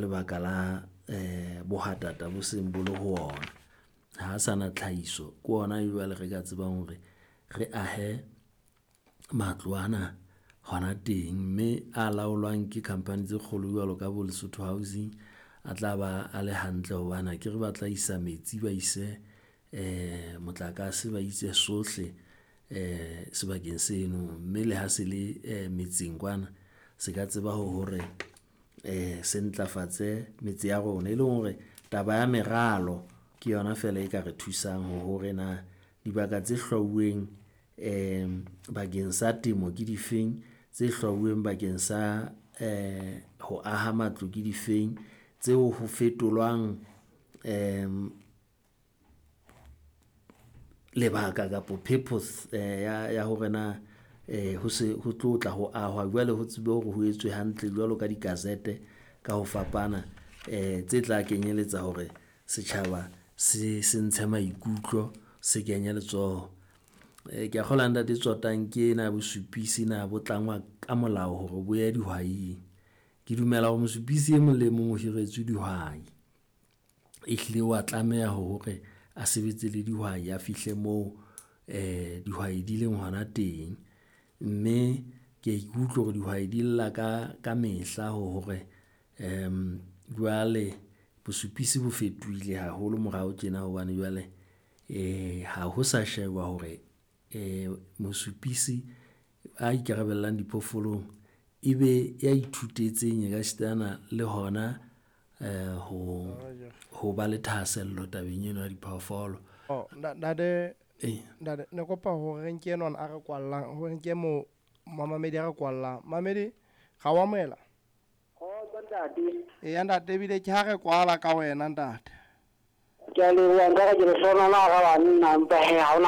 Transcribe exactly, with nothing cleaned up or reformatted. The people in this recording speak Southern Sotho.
lebaka la eh bohatata bo seng bo le ho ona. Ha a sana tlhahiso, ke ona jwale re ka tsebang hore re ahe matlo ana hona teng, mme a laolwang ke company tse kgolo jwalo ka bo Lesotho Housing a tla ba a le hantle hobane akere ba tla isa metsi, ba ise motlakase, ba ise sohle sebakeng seno. Mme le ha se le metseng kwana, se ka tseba hore se ntlafatse metse ya rona, e leng hore taba ya meralo ke yona feela e ka re thusang hore na dibaka tse hlwauweng bakeng sa temo ke difeng, tse hlwauweng bakeng sa ho aha matlo ke difeng, tseo ho fetolwang lebaka kapo purpose ya ya hore na ho se ho tlo tla ho ahwa. Jwale ho tsebe hore ho etswe hantle jwalo ka di-gazette ka ho fapana tse tla kenyeletsa hore setjhaba se se ntshe maikutlo, se kenye letsoho. Ke a kgolwa ntate Tsotang ke ena ya bosupisi na bo tlangwa ka molao hore bo ye dihwaing. Ke dumela hore mosupisi e mong le mong o hiretswe dihwai. Ehlile wa tlameha hore a sebetse le dihwai, a fihle moo dihwai di leng hona teng. Mme ke ya ikutlwa hore dihwai di lla ka ka mehla hore jwale bosupisi bo fetohile haholo morao tjena hobane jwale ha ho sa sheba hore mosupisi a ikarabellang diphoofolong ebe ya ithutetseng ekasitana le hona ho ho ba le thahasello tabeng eno ya diphoofolo. Oh, ntate, Ee. ntate, ne kopa hore re nke enwana a re kwallang, hore nke mo mamamedi a re kwallang. Mamedi, ra o amohela? Kgotso ntate. Eya ntate, ebile ke ha re kwala ka wena ntate. Ke a leboha nka re ke le hlohonolola hara banna empa hee ha hona